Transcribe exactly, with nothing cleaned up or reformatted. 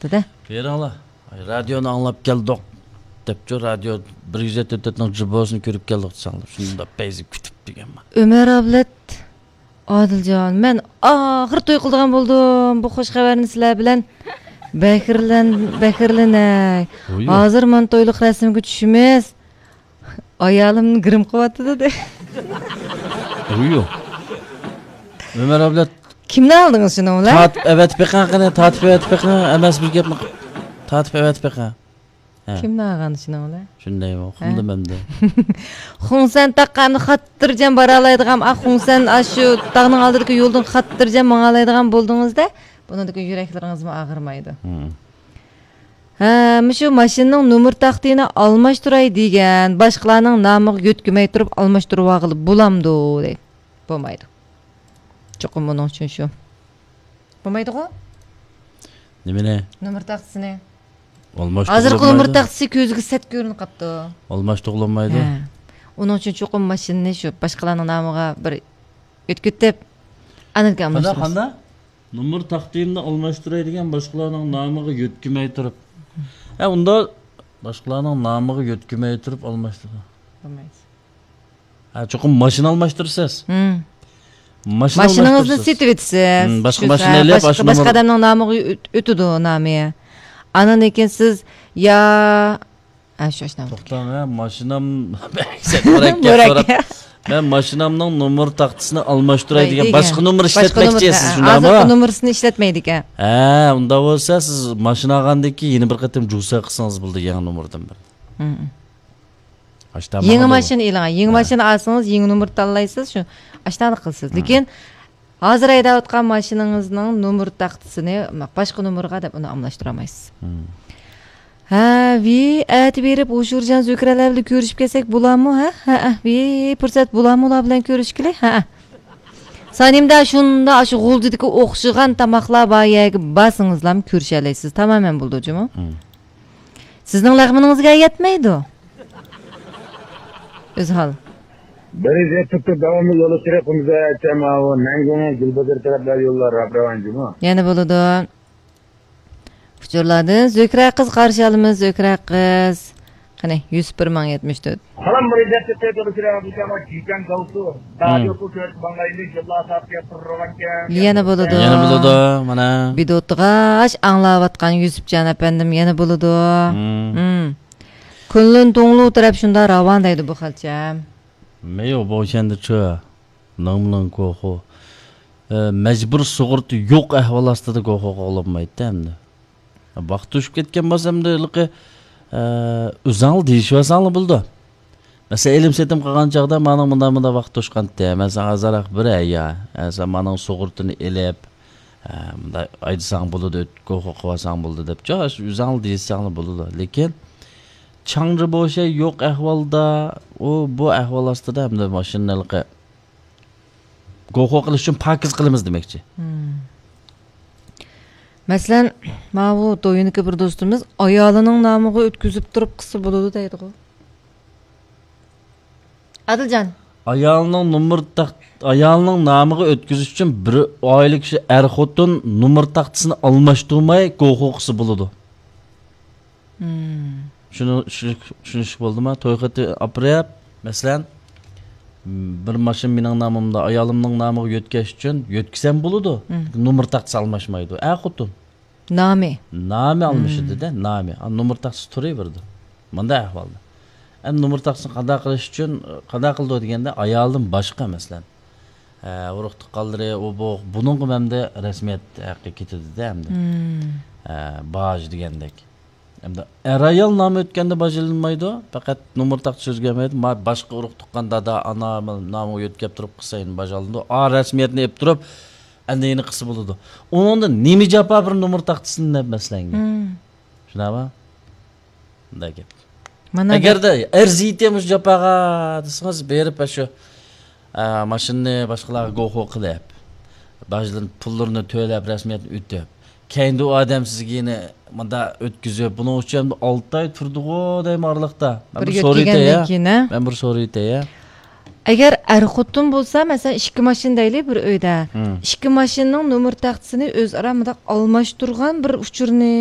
دېدى. بېرىڭلار، رادىيونى ئاڭلاپ كەلدۇق، دەپچۇ، رادىيو بىر يۈز يەتتە تۆتنىڭ جۇبوسىنى كۆرۈپ كەلدۇق دېسەڭلار، شۇنداق پەيزى كۈتۈپ دېگەنمەن. ئۆمەر ئابلەت، ئادىلجان، مەن ئاخىر توي قىلىدىغان بولدۇم. بۇ خوش خەۋەرنى سىلەر بىلەن بەھرىلەن-، بەھرىلىنەي. ھازىر مانا تويلۇق رەسىمگە چۈشىمىز. ئايالىم گىرىم قىلىۋاتىدۇ دە. ئۇيۇ. ئۆمەر ئابلەت. كىمنى ئالدىڭىز شۇنىڭ بىلەن؟ تارتىپ ئەۋەتىپ بېقىڭ قېنى، تارتىپ ئەۋەتىپ بېقىڭ، ئەمەس بىر گەپنى قىپ. تارتىپ ئەۋەتىپ بېقىڭ. ھە. كىمنى ئالغان شۇنىڭ بىلەن؟ شۇندايمۇ، ھە. ئۇقمىدىم ئەمدى. خۇڭسەن تاغقا ئەمدى خاتىرجەم بارالايدىغان، ئا، خۇڭسەن ئاشۇ تاغنىڭ ئالدىدىكى يولدىن خاتىرجەم ماڭالايدىغان بولدىڭىزدە، بۇنىڭدىكى يۈرەكلىرىڭىزمۇ ئاغرىمايدۇ. ھە، مۇشۇ ماشىنىنىڭ نومۇر تاختىنى ئالماشتۇراي دېگەن، باشقىلارنىڭ نامىغا يۆتكىمەي تۇرۇپ ئالماشتۇرۇۋالغىلى بولامدۇ دەيدۇ. بولمايدۇ. چوقۇم ئۇنىڭ ئۈچۈن شۇ. بولمايدىغۇ؟ نېمىنى؟ نومۇر تاختىسىنى. ھازىرقى نومۇر تاختىسى كۆزگە سەت كۆرۈنۈپ قاپتۇ. ئالماشتۇرغىلى بولمايدۇ. ھە. ئۇنىڭ ئۈچۈن چوقۇم ماشىنىنى شۇ باشقىلارنىڭ نامىغا بىر ئۆتكۈتۈپ، ئاندىن كېيىن ئالماشتۇرىسىز. قانداق؟ نومۇر تاختىمنى ئالماشتۇراي دېگەن، باشقىلارنىڭ نامىغا يۆتكىمەي تۇرۇپ. ھە، ئۇندا باشقىلارنىڭ نامىغا يۆتكىمەي تۇرۇپ ئالماشتۇرىدۇ. بولمايدۇ. ھە، چوقۇم ماشىنا ئالماشتۇرىسىز. ھىم. ماشىنا ماشىنىڭىزنى ئالماشتۇرىسىز. سېتىۋېتىسىز. ھىم، باشقا شۇ ماشىنا سا-، ئېلىپ، باشقا، ئاشۇ باشقا نومۇر ئادەمنىڭ نامىغا ئۆت-، ئۆتىدۇ نامى. ئاندىن كېيىن سىز يا، ھە، شۇ ئاشۇنداق. توختاڭ، ھە، ماشىنام مۇرەككەپ، مۇرەككەپ. مەن ماشىنامنىڭ نومۇر تاختىسىنى ئالماشتۇراي دېگەن، دېگەن. باشقا نومۇر ئىشلەتمەكچى سىز، شۇنداقمۇ؟ ھازىرقى نومۇرىسىنى ئىشلەتمەيدىكەن. ھە، ئۇنداق بولسا سىز ماشىنا ئالغاندىن كېيىن يەنە بىر قېتىم جۇسا قىلسىڭىز بولىدۇ يېڭى نومۇردىن بىر. ھىم. يېڭى ماشىنا ئېلىڭ. يېڭى ماشىنا ئالسىڭىز، يېڭى نومۇر تاللايسىز، شۇ ئاشۇنداق قىلىسىز. لېكىن ھازىر ھەيدەۋاتقان ماشىنىڭىزنىڭ نومۇر تاختىسىنى باشقا نومۇرغا دەپ ئۇنى ئالماشتۇرالمايسىز. ھە، ۋى، ئەتە بېرىپ ھوشۇرجان زۆھرەلەر بىلەن كۆرۈشۈپ كەلسەك بولامۇ، ھە؟ ھە، ھە، ۋى، پۇرسەت بولامۇ ئۇلار بىلەن كۆرۈشكىلى؟ ھە، ھە. سانىمدا شۇنداق ئاشۇ غۇلجىدىكى ئوخشىغان تاماقلار بار يەرگە بارسىڭىزلام كۆرۈشەلەيسىز. تامامەن بولىدۇ جۇمۇ. سىزنىڭ لەغمىنىڭىزگە يەتمەيدۇ. ئۆزھال. بىر يۈز يەتتە داۋاملىق يول ئۇچۇرى قۇمزاچام ئاۋۇ نەنگۇڭ گۈلبازار تەرەپلەر يوللار راپ راۋان جۇمۇ. يەنە بولىدۇ. ئۇچۇرلاردىن زۆھرە قىز قارشى ئالىمىز، زۆھرە قىز. قېنى، يۈسۈپ بىر مىڭ يەتمىش تۆت. سالام، بىر يۈز يەتتە داۋاملىق يول ئۇچۇرى راپ راۋان جۇمۇ. يەنە بولىدۇ. يەنە بولىدۇ، مانا. بىدوتىغاچ ئاڭلاۋاتقان يۈسۈپجان ئەپەندىم يەنە بولىدۇ. ھىم. كۈنلۈن توڭلۇ تەرەپ شۇنداق راۋان دەيدۇ بۇ خەلچە. مەيو بوشەندىچۇ. نىڭمىنىڭ گوخۇ. ئە، مەجبۇر سۇغۇرتا يوق ئەھۋال ئاستىدا گوخۇ قوغلانمايتتى ئەمدى. ۋاقىت توشۇپ كەتكەن بولسا ئەمدى ھېلىقى، ئە، ئۆزەڭلار دېيىشىۋالساڭلار بولىدۇ. مەسىلەن، ئېلىم سېتىم قىلغان چاغدا مانىڭ مۇنداق، مۇنداق ۋاقىت توشقانتى. مەن ساڭا ئازراق بېرەي يا. ھە، سەن مانىڭ سۇغۇرتىنى ئېلىپ، ھە، مۇنداق ئايدىساڭ بولىدۇ، گوخۇ قىلىۋالساڭ بولىدۇ دەپ، جا، ئۆزەڭلار دېيىشسەڭلار بولىدۇ. لېكىن چاڭجى بوشەي يوق ئەھۋالدا، ئۇ، بۇ ئەھۋال ئاستىدا ئەمدى ماشىنىنى ھېلىقى گوخۇ قىلىش ئۈچۈن پاكىز قىلىمىز دېمەكچى. مەسىلەن، ماۋۇ دويىنىكى بىر دوستىمىز ئايالىنىڭ نامىغا ئۆتكۈزۈپ تۇرۇپ قىلسا بولىدۇ دەيدىغۇ. ئادىلجان. ئايالىنىڭ نومۇر تاخ-، ئايالىنىڭ نامىغا ئۆتكۈزۈش ئۈچۈن بىر ئائىلە كىشى ئەر خوتۇن نومۇر تاختىسىنى ئالماشتۇرماي گوخۇ قىلسا بولىدۇ. شۇنى چۈشىنىش-، چۈشىنىشلىك بولدىما؟ توي خېتى ئاپىرىپ، مەسىلەن، بىر ماشىنا مېنىڭ نامىمدا، ئايالىمنىڭ نامىغا يۆتكەش ئۈچۈن يۆتكىسەم بولىدۇ. نومۇر تاختىسى ئالماشمايدۇ. ئەر خوتۇن. نامى. نامى ئالمىشىدۇ-دە، نامى. ئا، نومۇر تاختىسى تۇرۇۋېرىدۇ. مۇنداق ئەھۋالدا. ئەمدى نومۇر تاختىسىنى قانداق قىلىش ئۈچۈن، قانداق قىلىدۇ دېگەندە، ئايالدىن باشقا، مەسىلەن، ئە، ئۇرۇق تۇغقانلىرى، ئۇ، بۇ، بۇنىڭغا ئەمدى رەسمىيەت ھەققى كېتىدۇ-دە ئەمدى. ئە، باج دېگەندەك. ئەمدى ئەر-ئايال نامى ئۆتكەندە باج ئېلىنمايدۇ، پەقەت نومۇر تاختىسى ئۆزگەرمەيدۇ. ما-، باشقا ئۇرۇق تۇغقان، دادا، ئانا نامىغا يۆتكەپ تۇرۇپ قىلسا، يەنە باج ئالىنىدۇ. ئا، رەسمىيەتنى ئېلىپ تۇرۇپ، ئەمدى يەنە قىلسا بولىدۇ. ئۇنىڭدا نېمە جاپا بىر نومۇر تاختىسىنى دەپ مەسىلەنگە. شۇنداقمۇ؟ مۇنداق گەپ. مانا ئەگەردە ئەرزىيتى مۇشۇ جاپاغا دېسىڭىز، بېرىپ شۇ، ئە، ماشىنىنى باشقىلارغا گوخۇ قىلىپ، باجلىرىنى، پۇللىرىنى تۆلەپ، رەسمىيەتنى ئۆتۈپ، كەينىدە ئۇ ئادەم سىزگە يەنە مۇنداق ئۆتكۈزۈپ، بۇنىڭ ئۈچۈن ئالتە ئاي تۇردىغۇ دەيمەن ئارىلىقتا. مەن بىر بىر سورىيتەي، يۆتكەندىن كېيىن، ھە؟ مەن بىر سورىيتەي. ئەگەر ئەر خوتۇن بولسا، مەسىلەن، ئىككى ماشىنا دەيلى بىر ئۆيدە. ئىككى ماشىنىنىڭ نومۇر تاختىسىنى ئۆزئارا مۇنداق ئالماشتۇرغان بىر ئۇچۇرنى